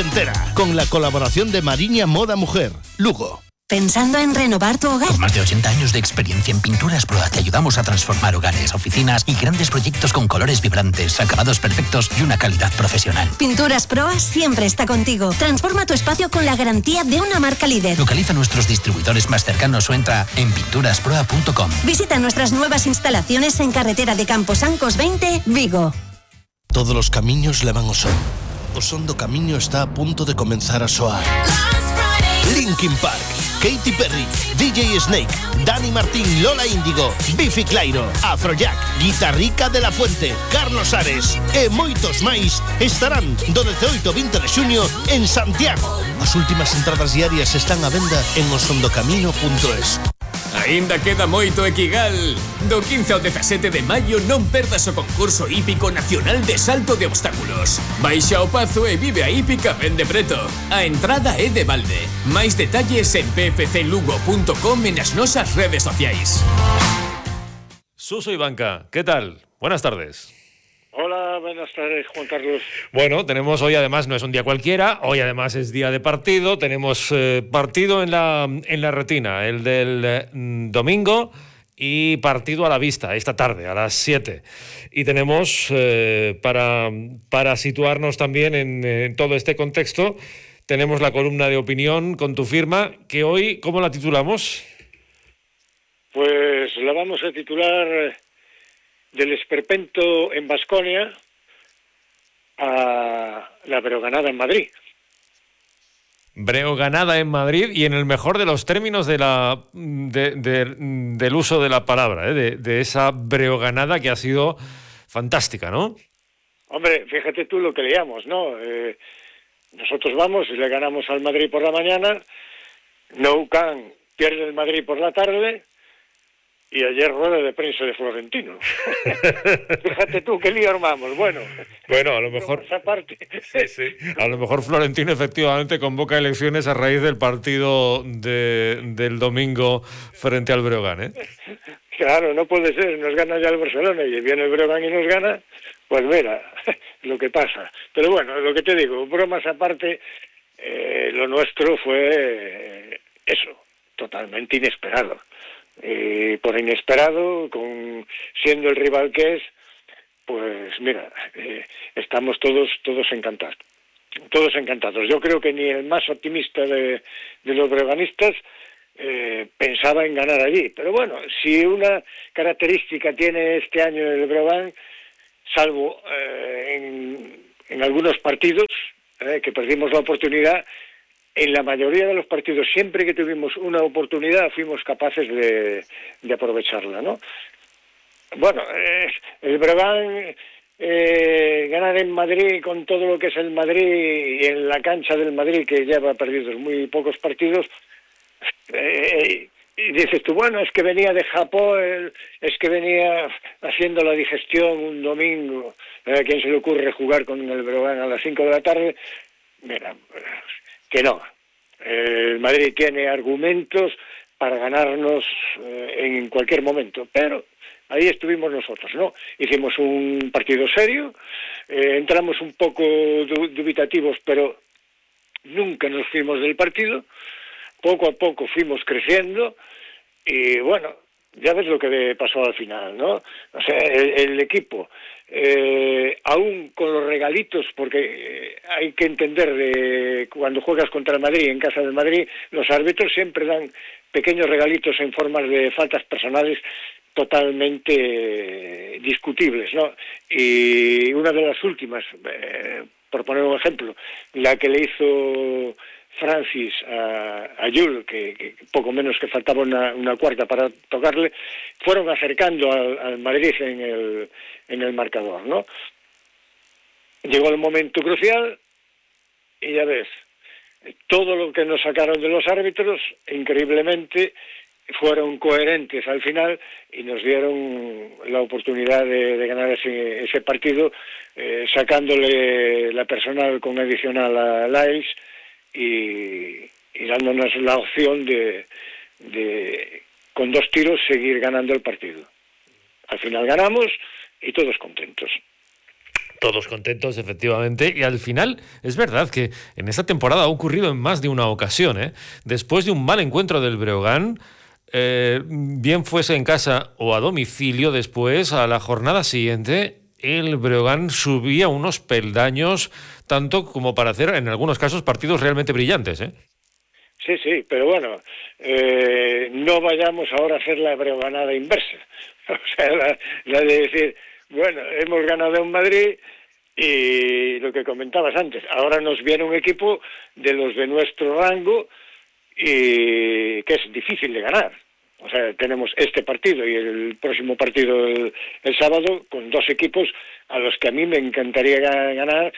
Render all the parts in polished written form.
entera, con la colaboración de Mariña Moda Mujer, Lugo. ¿Pensando en renovar tu hogar? Con más de 80 años de experiencia en Pinturas Proa te ayudamos a transformar hogares, oficinas y grandes proyectos con colores vibrantes, acabados perfectos y una calidad profesional. Pinturas Proa siempre está contigo. Transforma tu espacio con la garantía de una marca líder. Localiza nuestros distribuidores más cercanos o entra en pinturasproa.com. Visita nuestras nuevas instalaciones en carretera de Camposancos 20, Vigo. Todos los camiños levan ao son. O son do camiño está a punto de comenzar a soar. Linkin Park, Katy Perry, DJ Snake, Dani Martín, Lola Índigo, Biffy Clyro, Afrojack, Guitarrica de la Fuente, Carlos Ares e moitos máis estarán do 18 ao 20 de xuño en Santiago. As últimas entradas diarias están á venda en osondocamino.es. Ainda queda moito Equigal. Do 15 ao 17 de maio non perdas o concurso hípico nacional de salto de obstáculos. Baixa ao Pazo e vive a hípica ben de preto. A entrada é de balde. Máis detalles en pfclugo.com e nas nosas redes sociais. Suso y Banca, ¿qué tal? Buenas tardes. Hola, buenas tardes, Juan Carlos. Bueno, tenemos hoy, además, no es un día cualquiera, hoy además es día de partido, tenemos partido en la retina, el del domingo, y partido a la vista, esta tarde, a las 7. Y tenemos, para situarnos también en todo este contexto, tenemos la columna de opinión con tu firma, que hoy, ¿cómo la titulamos? Pues la vamos a titular... del esperpento en Baskonia a la breoganada en Madrid. Breoganada en Madrid y en el mejor de los términos del uso de la palabra, de esa breoganada que ha sido fantástica, ¿no? Hombre, fíjate tú lo que leíamos, ¿no? Nosotros vamos y le ganamos al Madrid por la mañana, Nou Camp pierde el Madrid por la tarde. Y ayer rueda de prensa de Florentino. Fíjate tú, qué lío armamos. Bueno, a lo mejor... Esa parte. Sí. A lo mejor Florentino efectivamente convoca elecciones a raíz del partido del domingo frente al Breogán, ¿eh? Claro, no puede ser. Nos gana ya el Barcelona y viene el Breogán y nos gana. Pues mira, lo que pasa. Pero bueno, lo que te digo, bromas aparte, lo nuestro fue eso, totalmente inesperado. Por inesperado, siendo el rival que es, pues mira, estamos todos encantados. Todos encantados. Yo creo que ni el más optimista de los breoganistas pensaba en ganar allí. Pero bueno, si una característica tiene este año el Breogán, salvo en algunos partidos que perdimos la oportunidad, en la mayoría de los partidos, siempre que tuvimos una oportunidad, fuimos capaces de aprovecharla, ¿no? Bueno, el Breogán ganar en Madrid con todo lo que es el Madrid y en la cancha del Madrid, que lleva perdidos muy pocos partidos, y dices tú, bueno, es que venía de Japón, es que venía haciendo la digestión un domingo, ¿a quién se le ocurre jugar con el Breogán a las 5 de la tarde? Mira, que no. El Madrid tiene argumentos para ganarnos en cualquier momento, pero ahí estuvimos nosotros, ¿no? Hicimos un partido serio, entramos un poco dubitativos, pero nunca nos fuimos del partido, poco a poco fuimos creciendo y bueno, ya ves lo que pasó al final, ¿no? O sea, el equipo, aún con los regalitos, porque hay que entender, cuando juegas contra el Madrid, en casa del Madrid, los árbitros siempre dan pequeños regalitos en formas de faltas personales totalmente discutibles, ¿no? Y una de las últimas, por poner un ejemplo, la que le hizo Francis a Jules, que poco menos que faltaba una cuarta para tocarle, fueron acercando al Madrid en el marcador, ¿no? Llegó el momento crucial y ya ves, todo lo que nos sacaron de los árbitros, increíblemente, fueron coherentes al final y nos dieron la oportunidad de ganar ese partido, sacándole la personal con adicional a Laes y dándonos la opción de con 2 tiros seguir ganando el partido. Al final ganamos y todos contentos. todos contentos, efectivamente, y al final es verdad que en esta temporada ha ocurrido en más de una ocasión, ¿eh? Después de un mal encuentro del Breogán, bien fuese en casa o a domicilio, después, a la jornada siguiente, el Breogán subía unos peldaños, tanto como para hacer, en algunos casos, partidos realmente brillantes, ¿eh? Sí, pero bueno, no vayamos ahora a hacer la breoganada inversa. O sea, la de decir, bueno, hemos ganado en Madrid y lo que comentabas antes, ahora nos viene un equipo de los de nuestro rango y que es difícil de ganar. O sea, tenemos este partido y el próximo partido el sábado con dos equipos a los que a mí me encantaría ganar,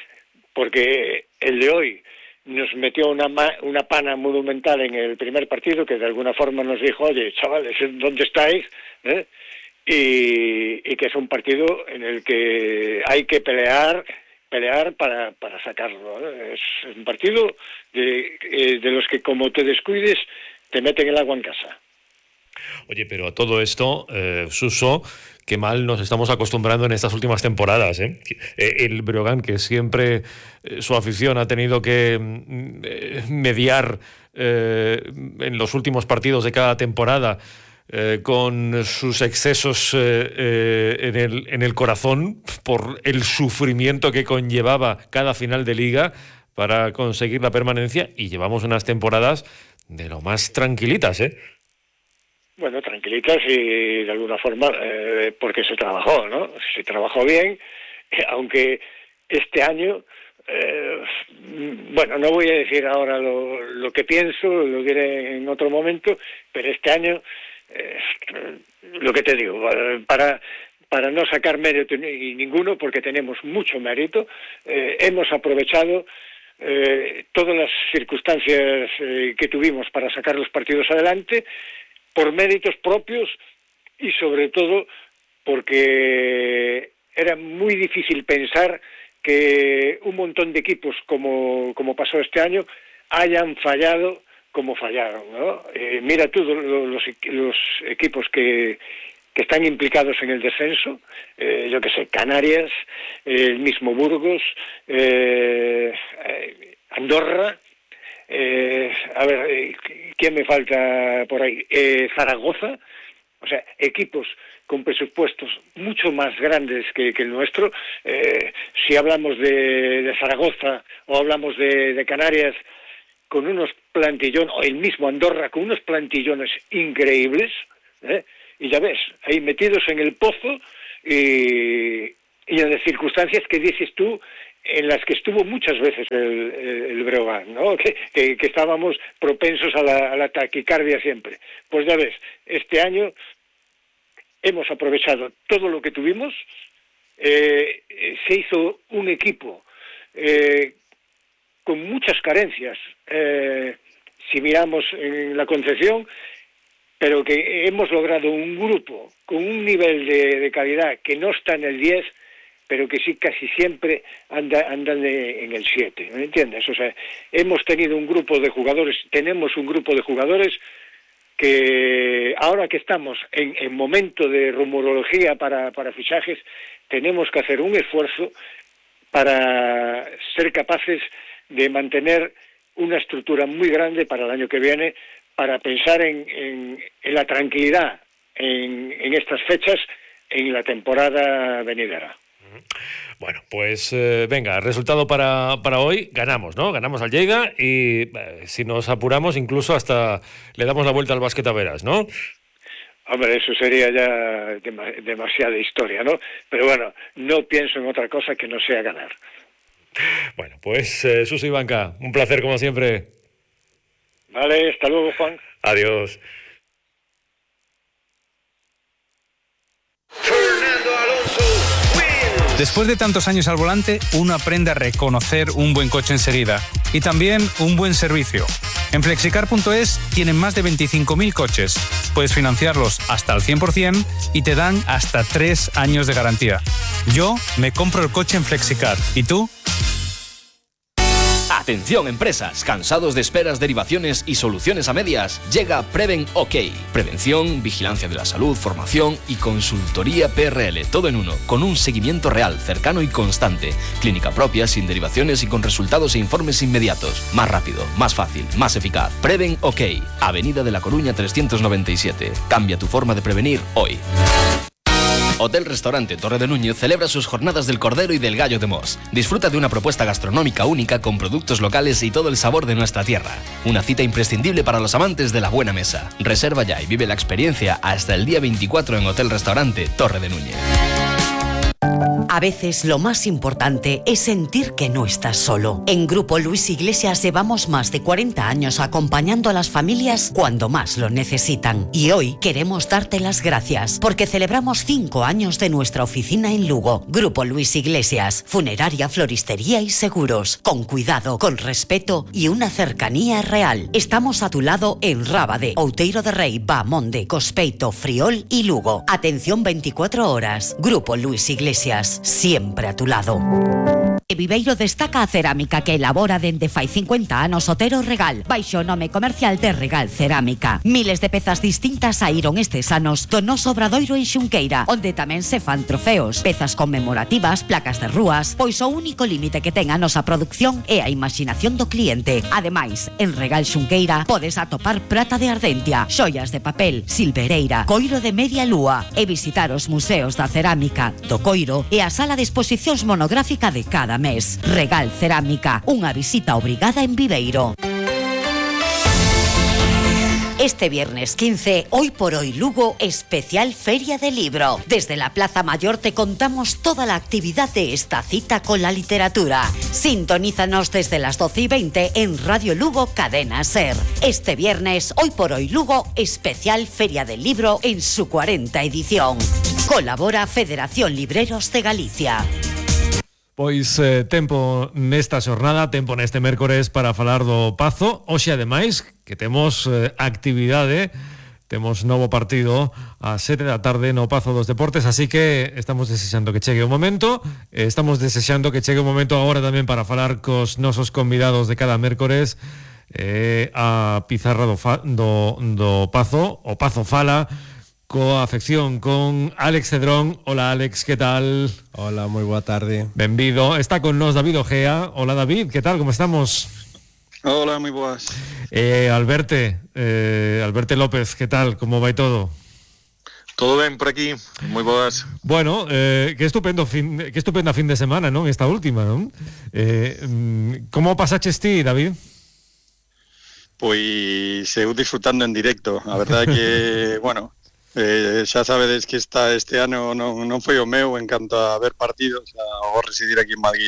porque el de hoy nos metió una pana monumental en el primer partido, que de alguna forma nos dijo, oye, chavales, ¿dónde estáis? Y que es un partido en el que hay que pelear para sacarlo, ¿no? Es un partido de los que, como te descuides, te meten el agua en casa. Oye, pero a todo esto, Suso, qué mal nos estamos acostumbrando en estas últimas temporadas, ¿eh? El Breogán, que siempre su afición ha tenido que mediar en los últimos partidos de cada temporada con sus excesos en el corazón por el sufrimiento que conllevaba cada final de liga para conseguir la permanencia, y llevamos unas temporadas de lo más tranquilitas, ¿eh? Bueno, tranquilitas y de alguna forma porque se trabajó, ¿no? Se trabajó bien, aunque este año, bueno, no voy a decir ahora lo que pienso, lo diré en otro momento, pero este año, lo que te digo, para no sacar mérito ninguno, porque tenemos mucho mérito, hemos aprovechado todas las circunstancias que tuvimos para sacar los partidos adelante, por méritos propios y sobre todo porque era muy difícil pensar que un montón de equipos como pasó este año hayan fallado como fallaron, ¿no? Mira tú los equipos que están implicados en el descenso, yo que sé, Canarias, el mismo Burgos, Andorra. A ver, ¿quién me falta por ahí? Zaragoza. O sea, equipos con presupuestos mucho más grandes que el nuestro. Si hablamos de Zaragoza o hablamos de Canarias, con unos plantillones, o el mismo Andorra, con unos plantillones increíbles, y ya ves, ahí metidos en el pozo y en las circunstancias que dices tú, en las que estuvo muchas veces el Breogán, ¿no? Que estábamos propensos a la taquicardia siempre. Pues ya ves, este año hemos aprovechado todo lo que tuvimos, se hizo un equipo con muchas carencias, si miramos en la concepción, pero que hemos logrado un grupo con un nivel de calidad que no está en el 10, pero que sí casi siempre andan en el 7, ¿me entiendes? O sea, tenemos un grupo de jugadores que ahora que estamos en momento de rumorología para fichajes, tenemos que hacer un esfuerzo para ser capaces de mantener una estructura muy grande para el año que viene, para pensar en la tranquilidad en estas fechas, en la temporada venidera. Bueno, pues venga, resultado para hoy, ganamos, ¿no? Ganamos al Lleida y si nos apuramos incluso hasta le damos la vuelta al Básquet Averas, ¿no? Hombre, eso sería ya demasiada historia, ¿no? Pero bueno, no pienso en otra cosa que no sea ganar. Bueno, pues Suso Ivanka, un placer como siempre. Vale, hasta luego, Juan. Adiós. Después de tantos años al volante, uno aprende a reconocer un buen coche enseguida y también un buen servicio. En Flexicar.es tienen más de 25.000 coches. Puedes financiarlos hasta el 100% y te dan hasta 3 años de garantía. Yo me compro el coche en Flexicar. ¿Y tú? Atención empresas, cansados de esperas, derivaciones y soluciones a medias. Llega Preven OK. Prevención, vigilancia de la salud, formación y consultoría PRL. Todo en uno, con un seguimiento real, cercano y constante. Clínica propia, sin derivaciones y con resultados e informes inmediatos. Más rápido, más fácil, más eficaz. Preven OK. Avenida de la Coruña 397. Cambia tu forma de prevenir hoy. Hotel Restaurante Torre de Núñez celebra sus jornadas del Cordero y del Gallo de Mos. Disfruta de una propuesta gastronómica única con productos locales y todo el sabor de nuestra tierra. Una cita imprescindible para los amantes de la buena mesa. Reserva ya y vive la experiencia hasta el día 24 en Hotel Restaurante Torre de Núñez. A veces lo más importante es sentir que no estás solo. En Grupo Luis Iglesias llevamos más de 40 años acompañando a las familias cuando más lo necesitan. Y hoy queremos darte las gracias porque celebramos 5 años de nuestra oficina en Lugo. Grupo Luis Iglesias, funeraria, floristería y seguros. Con cuidado, con respeto y una cercanía real. Estamos a tu lado en Rábade, Outeiro de Rei, Bamonde, Cospeito, Friol y Lugo. Atención 24 horas. Grupo Luis Iglesias, siempre a tu lado. E Viveiro destaca a cerámica que elabora dende fai 50 anos Otero Regal, baixo o nome comercial de Regal Cerámica. Miles de pezas distintas saíron estes anos do noso obradoiro en Xunqueira, onde tamén se fan trofeos, pezas conmemorativas, placas de rúas, pois o único límite que ten a nosa produción é a imaginación do cliente. Ademais, en Regal Xunqueira podes atopar prata de Ardentia, xoias de papel, silvereira, coiro de media lúa e visitar os museos da cerámica, do coiro e a sala de exposicións monográfica de cada mes. Regal Cerámica, unha visita obrigada en Viveiro. Este viernes 15, Hoy por Hoy Lugo, especial Feria del Libro. Desde la Plaza Mayor te contamos toda la actividad de esta cita con la literatura. Sintonízanos desde las 12:20 en Radio Lugo Cadena Ser. Este viernes, Hoy por Hoy Lugo, especial Feria del Libro en su 40 edición. Colabora Federación Libreros de Galicia. Pois tempo nesta xornada, tempo neste mércores para falar do Pazo. Hoxe, ademais, que temos actividade, temos novo partido a 7 da tarde no Pazo dos Deportes, así que estamos desexando que chegue o momento. Estamos desexando que chegue o momento agora tamén para falar cos nosos convidados de cada mércores a pizarra do Pazo, o Pazo Fala, coa afección con Alex Cedrón. Hola Alex, que tal? Hola, moi boa tarde. Benvido. Está con nós David Ojea. Hola David, que tal, como estamos? Hola, moi boas. Alberte López, que tal, como vai todo? Todo ben por aquí, moi boas. Bueno, que estupenda fin de semana, non? Esta última, non? Como pasaches ti, David? Pois eu disfrutando en directo. A verdade que, bueno, xa sabedes que este ano non foi o meu en canto a ver partidos, ao residir aquí en Madrid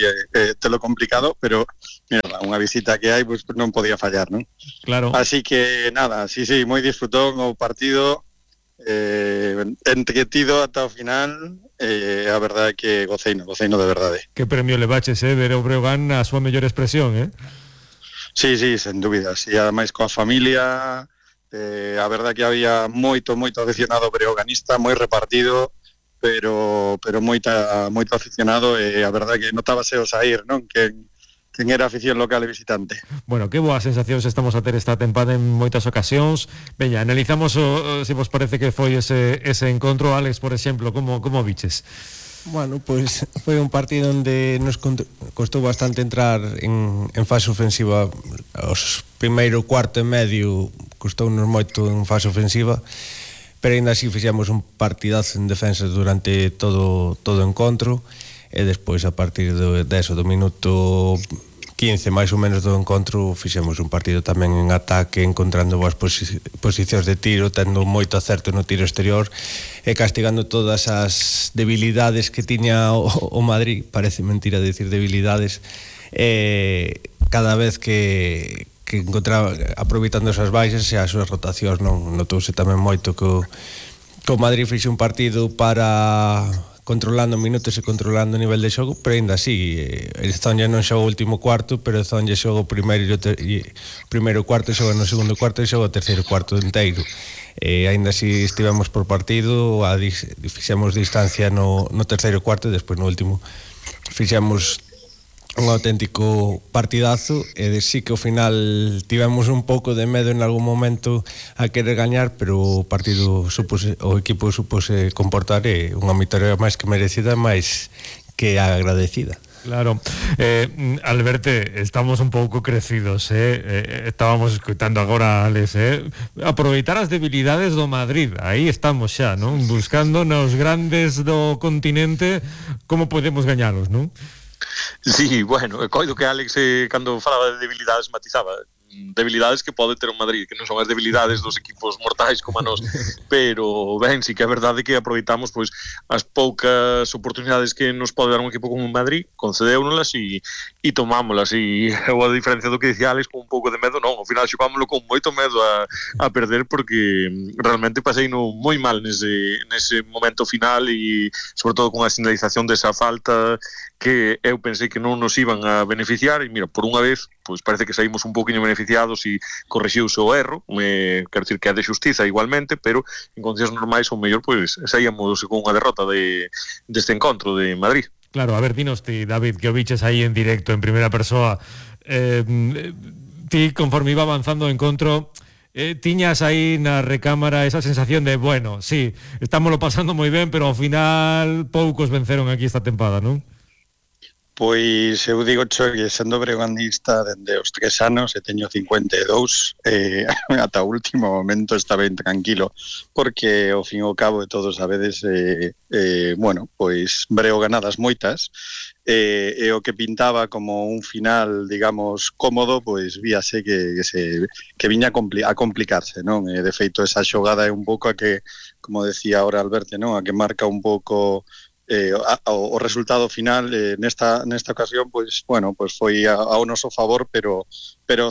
telo complicado, pero mira, unha visita que hai, pues, non podía fallar, non? Claro. Así que nada, sí, moi disfrutón o partido, entretido ata o final, a verdade que goceino de verdade. Que premio le baches, ver o Breogán a súa mellor expresión, Sí, sen dúbidas, e ademais coa familia. A verdade que había moito aficionado breoganista, moi repartido, pero moito aficionado, e a verdade que notábase o saír, non? Quen era afición local e visitante. Bueno, que boas sensacións estamos a ter esta tempada en moitas ocasións. Veña, analizamos se vos parece que foi ese encontro. Alex, por exemplo, como viches? Bueno, pois foi un partido onde nos costou bastante entrar en fase ofensiva. Os primeiro cuarto e medio costounos moito en fase ofensiva, pero ainda así fixemos un partidazo en defensa durante todo o encontro, e despois a partir do minuto 15 máis ou menos do encontro fixemos un partido tamén en ataque, encontrando boas posicións de tiro, tendo moito acerto no tiro exterior e castigando todas as debilidades que tiña o Madrid. Parece mentira decir debilidades, cada vez que encontraba, aproveitando esas baixas e as súas rotacións, non notouse tamén moito que o Madrid fixe un partido para controlando minutos e controlando o nivel de xogo, pero ainda así, el Zonja non xoga o último cuarto, pero o Zonja xoga o primeiro cuarto, xoga no segundo cuarto e xoga o terceiro cuarto inteiro. Ainda así estivemos por partido, fixemos distancia no terceiro cuarto e despois no último fixemos un auténtico partidazo e sí que ao final tivemos un pouco de medo en algún momento a querer gañar, pero o partido o equipo supose comportar unha vitória máis que merecida, máis que agradecida. Claro, Alberto, estamos un pouco crecidos, estábamos escutando agora a Alex, aproveitar as debilidades do Madrid, aí estamos xa, non? Buscando nos grandes do continente como podemos gañalos, non? Sí, bueno, coido que Alex cando falaba de debilidades matizaba debilidades que pode ter o Madrid, que non son as debilidades dos equipos mortais como a nós, pero ben, sí que é verdade que aproveitamos pois as poucas oportunidades que nos pode dar un equipo como o Madrid, concedéunolas e tomámolas, e a diferencia do que dicía Alex, con un pouco de medo non, ao final xogámoslo con moito medo a perder, porque realmente pasei no moi mal nese momento final, e sobre todo con a sinalización desa falta que eu pensei que non nos iban a beneficiar, e mira, por unha vez pois parece que saímos un pouquinho beneficiados e corrixiuse o erro, quero dicir que é de xustiza igualmente, pero en condicións normais o mellor pois saíamos con unha derrota deste encontro de Madrid. Claro, a ver, dinos ti, David, que o biches aí en directo, en primeira persoa, ti conforme iba avanzando o encontro, tiñas aí na recámara esa sensación de, bueno, sí, estámoslo pasando moi ben, pero ao final poucos venceron aquí esta tempada, non? Pois eu digo que sendo breoganista dende os 3 anos e teño 52, ata o último momento está ben tranquilo, porque ao fin e ao cabo de todos sabedes, bueno, pois breoganadas moitas, e o que pintaba como un final, digamos, cómodo, pois víase que viña a complicarse, non? De feito, esa xogada é un pouco a que, como decía ahora Alberto, non? A que marca un pouco o resultado final nesta ocasión, pois bueno, pois foi ao noso favor, pero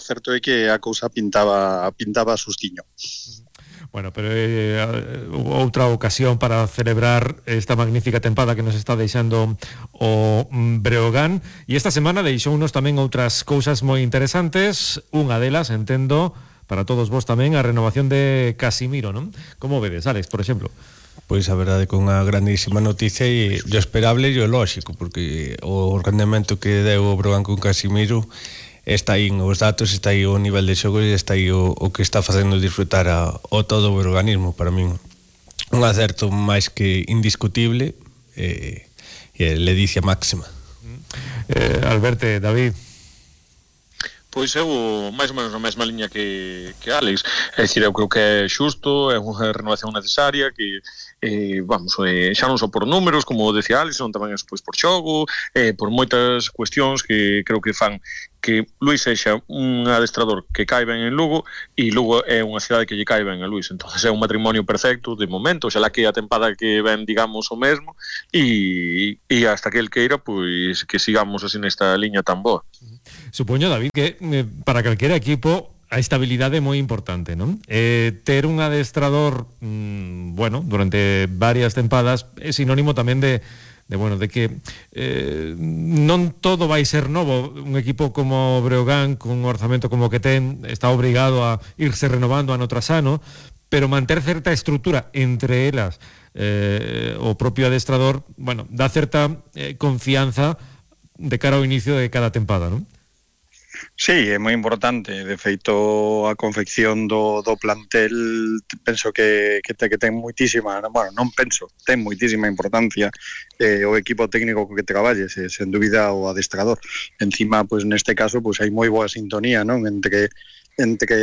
certo é que a cousa pintaba sustiño. Bueno, pero outra ocasión para celebrar esta magnífica tempada que nos está deixando o Breogán, e esta semana deixounos tamén outras cousas moi interesantes. Unha delas, entendo, para todos vos tamén, a renovación de Casimiro, non? Como vedes, Alex, por exemplo? Pois a verdade, con unha grandísima noticia e o esperable e o lóxico, porque o rendemento que deu o Breogán con Casimiro está aí os datos, está aí o nivel de xogo e está aí o que está facendo disfrutar o todo o breoganismo. Para min un acerto máis que indiscutible e ledicia máxima. Alberto, David. Pois eu máis ou menos na mesma liña que Alex, é dicir, eu creo que é xusto, é unha renovación necesaria que vamos, xa non só por números, como decía Alex, non tamén pois por xogo, por moitas cuestións que creo que fan que Luís sexa un adestrador que cae ben en Lugo, e Lugo é unha cidade que lle cae ben a Luís, entonces é un matrimonio perfecto de momento, xalá que a tempada que ven, digamos, o mesmo, e hasta que el queira, pois que sigamos así nesta liña tan boa. Supoño, David, que para calquera equipo a estabilidade é moi importante, non? Ter un adestrador, bueno, durante varias tempadas é sinónimo tamén de que non todo vai ser novo. Un equipo como Breogán, con un orzamento como que ten, está obrigado a irse renovando ano tras ano, pero manter certa estrutura entre elas, o propio adestrador, bueno, dá certa confianza de cara ao inicio de cada tempada, non? Sí, é moi importante. De feito, a confección do plantel penso que ten moitísima, bueno, non penso, ten moitísima importancia o equipo técnico co que traballes, sen dúbida o adestrador. Encima, pois neste caso, pois hai moi boa sintonía, non? Entre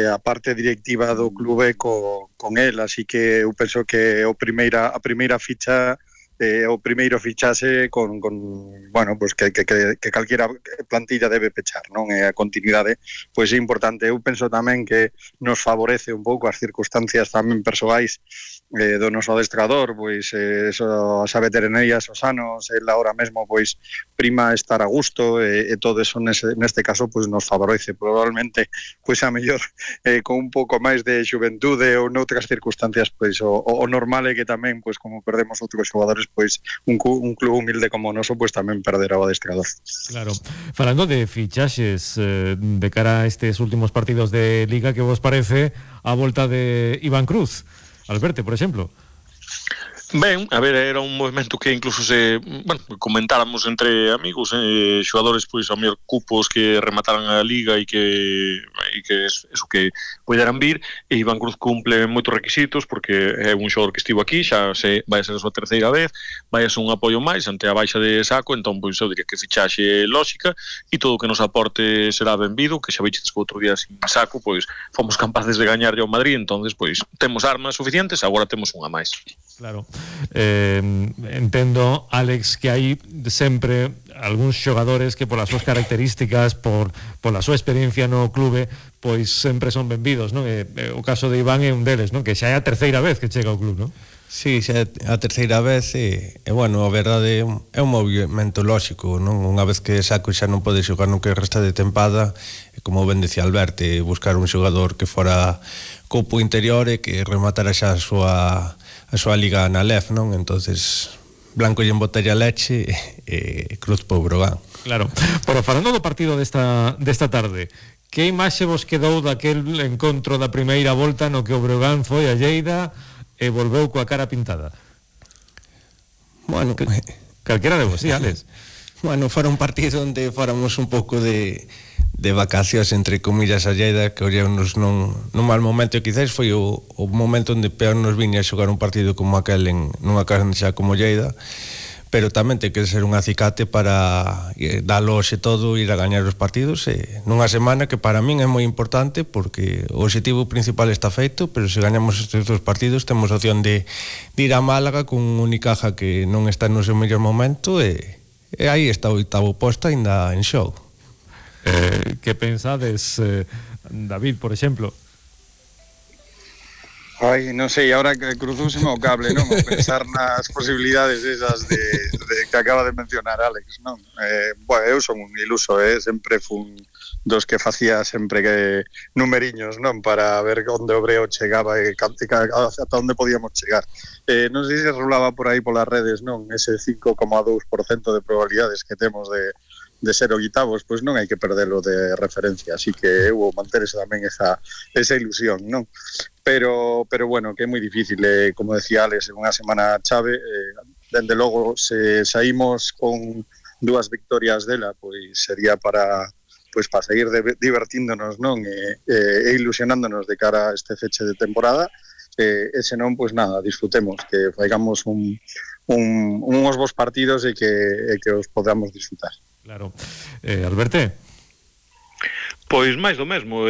a parte directiva do clube con el, así que eu penso que a primeira ficha o primeiro fichase con bueno, pues que calquera plantilla debe pechar, non? E a continuidade pois é importante. Eu penso tamén que nos favorece un pouco as circunstancias tamén persoais do noso adestrador, pois a veteranía, os anos, el ahora mesmo pois prima estar a gusto, e todo eso neste caso pois nos favorece. Probablemente pois a mellor con un pouco máis de xuventude ou noutras circunstancias pois o normal é que tamén pois como perdemos outros xogadores, pois un club humilde como o noso pois tamén perderá o adestrador. Claro. Falando de fichaxes de cara a estes últimos partidos de Liga, que vos parece a volta de Iván Cruz? Alberto, por exemplo. Ben, a ver, era un movimento que incluso comentáramos entre amigos, xogadores pois a mellor cupos que remataran a Liga e que eso que poderan vir, e Iván Cruz cumple moitos requisitos porque é un xogador que estivo aquí, xa vai a ser a súa terceira vez, vai a ser un apoio máis ante a baixa de Saco, entón pois eu diría que fichaxe lógica e todo o que nos aporte será benvido, que xa veiches que outro día sin Saco, pois fomos capaces de gañarlle ao Madrid, entonces pois temos armas suficientes, agora temos unha máis. Claro. Entendo, Alex, que hai sempre algúns xogadores que polas súas características, pola súa experiencia no clube, pois sempre son benvidos, non? O caso de Iván é un deles, non? Que xa é a terceira vez que chega ao club, non? Sí, xa é a terceira vez e bueno, a verdade é un movimento lóxico, non? Unha vez que Saco xa non pode xogar no que resta de tempada, como ben decía Alberto, buscar un xogador que fora copo interior e que rematara xa a súa liga na LEF, non? Entonces, Blanco lle embotella leche e Cruz po Brogan. Claro. Pero falando do partido desta tarde, que imaxe vos quedou daquel encontro da primeira volta no que o Brogan foi a Lleida e volveu coa cara pintada? Bueno, calquera de vos, sí, Alex. Bueno, fora un partido onde fóramos un pouco de vacacións entre comillas a Lleida, que ollámonos nun mal momento, e quizás foi o momento onde peor nos viña a xogar un partido como aquel nunha cancha como Lleida, pero tamén ten que ser un acicate para dalo hoxe todo, ir a gañar os partidos nunha semana que para min é moi importante, porque o objetivo principal está feito, pero se gañamos estes dos partidos temos opción de ir a Málaga con un Unicaja que non está no seu mellor momento e aí está o 8º posto ainda en xogo. Que pensades, David, por exemplo? Ai, non sei, ahora que cruzouse o cable, non? O pensar nas posibilidades esas de que acaba de mencionar Alex, non? Bueno, eu son un iluso, sempre fun dos que facía sempre que numeriños, non? Para ver onde o Breo chegaba e ata onde podíamos chegar. Non sei se rolaba por aí polas redes, non? Ese 5,2% de probabilidades que temos de ser oitavos, pois non hai que perdelo de referencia, así que eu vou manter tamén esa ilusión, non? Pero bueno, que é moi difícil, como decía Alex, en unha semana chave, dende logo, se saímos con 2 victorias dela, pois sería para seguir divertíndonos, non? E ilusionándonos de cara a este feche de temporada, e senón, pois nada, disfrutemos, que faigamos uns bons partidos e que os podamos disfrutar. Claro. Alberto? Pois máis do mesmo,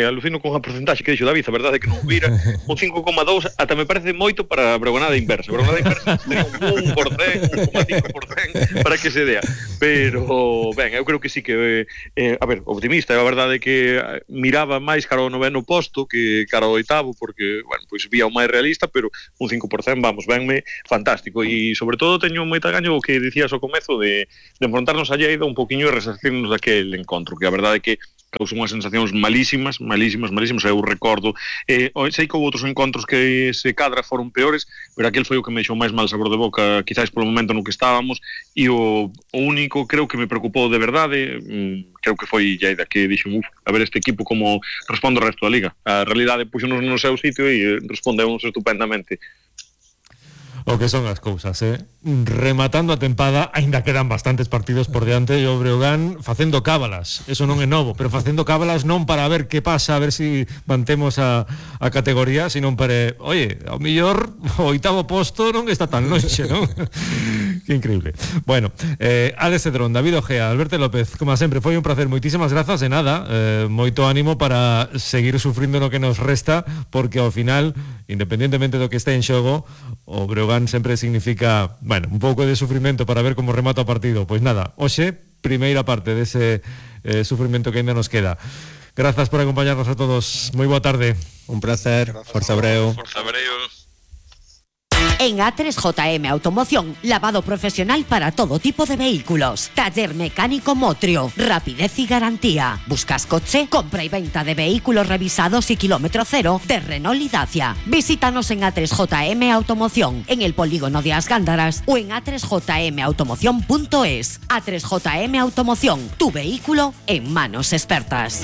alucino con a porcentaxe que dixo David, a verdade é que non vira un 5,2, ata me parece moito para a Bregonada inversa. A Bregonada inversa teria un 1,5% para que se dea. Pero, ben, eu creo que sí que, a ver, optimista, a verdade é que miraba máis cara ao 9º posto que cara ao 8º, porque, bueno, pois vía o máis realista, pero un 5%, vamos, venme fantástico. E, sobre todo, teño moita gaño o que dicías ao comezo de enfrontarnos a Lleida un poquinho e resarcirnos daquel encontro, que a verdade é que causou unhas sensacións malísimas, eu recordo, sei que houve outros encontros que se cadra foron peores, pero aquel foi o que me deixou máis mal sabor de boca, quizás polo momento no que estábamos, e o único, creo que me preocupou de verdade, creo que foi Lleida, que dixen, a ver este equipo como responde o resto da Liga. A realidade puxonos no seu sitio e respondemos estupendamente. O que son as cousas, rematando a tempada, aínda quedan bastantes partidos por diante, e o Breogán facendo cábalas, eso non é novo, pero facendo cábalas non para ver que pasa, a ver se mantemos a categoría, sino para, oye, ao mellor o 8º posto non está tan lonxe, non? Que increíble. Bueno, Alex Cedrón, David Ojea, Alberto López, como sempre, foi un placer, moitísimas grazas, e nada, moito ánimo para seguir sufrindo no que nos resta, porque ao final, independentemente do que este en xogo, o Breogán sempre significa, bueno, un pouco de sufrimento para ver como remata o partido. Pois nada, hoxe, primeira parte dese sufrimento que ainda nos queda. Grazas por acompañarnos a todos. Moi boa tarde. Un placer. Forza Breo. Forza Breo. En A3JM Automoción, lavado profesional para todo tipo de vehículos. Taller mecánico Motrio, rapidez y garantía. ¿Buscas coche? Compra y venta de vehículos revisados y kilómetro cero de Renault y Dacia. Visítanos en A3JM Automoción, en el polígono de As Gándaras o en a3jmautomoción.es. A3JM Automoción, tu vehículo en manos expertas.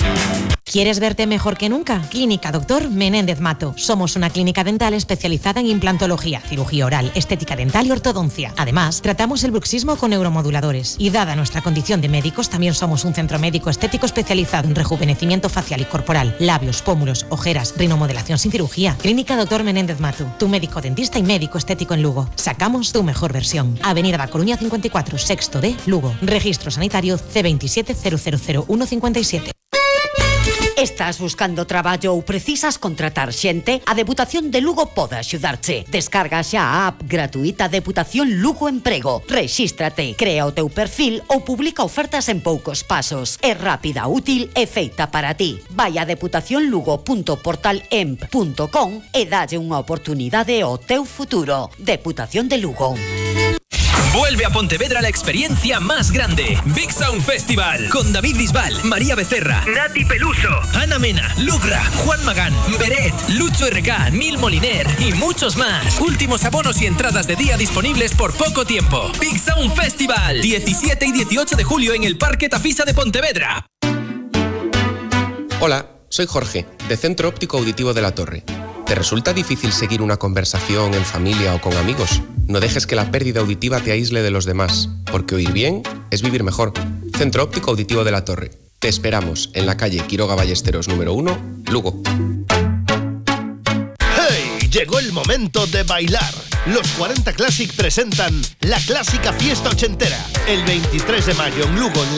¿Quieres verte mejor que nunca? Clínica Dr. Menéndez Mato. Somos una clínica dental especializada en implantología, cirugía oral, estética dental y ortodoncia. Además, tratamos el bruxismo con neuromoduladores. Y dada nuestra condición de médicos, también somos un centro médico estético especializado en rejuvenecimiento facial y corporal, labios, pómulos, ojeras, rinomodelación sin cirugía. Clínica Dr. Menéndez Mato. Tu médico dentista y médico estético en Lugo. Sacamos tu mejor versión. Avenida da Coruña 54, sexto D, Lugo. Registro sanitario C27 000157. Estás buscando traballo ou precisas contratar xente? A Deputación de Lugo pode axudarche. Descarga xa a app gratuita Deputación Lugo Emprego. Rexístrate, crea o teu perfil ou publica ofertas en poucos pasos. É rápida, útil e feita para ti. Vai a deputacionlugo.portalemp.com e dalle unha oportunidade ao teu futuro. Deputación de Lugo. Vuelve a Pontevedra la experiencia más grande. Big Sound Festival. Con David Bisbal, María Becerra, Nati Peluso, Ana Mena, Lugra, Juan Magán, Beret, Lucho RK, Nil Moliner y muchos más. Últimos abonos y entradas de día disponibles por poco tiempo. Big Sound Festival. 17 y 18 de julio en el Parque Tafisa de Pontevedra. Hola, soy Jorge, de Centro Óptico Auditivo de la Torre. ¿Te resulta difícil seguir una conversación en familia o con amigos? No dejes que la pérdida auditiva te aísle de los demás, porque oír bien es vivir mejor. Centro Óptico Auditivo de la Torre. Te esperamos en la calle Quiroga Ballesteros número 1, Lugo. ¡Hey! Llegó el momento de bailar. Los 40 Classic presentan la clásica fiesta ochentera. El 23 de mayo en Lugo, en la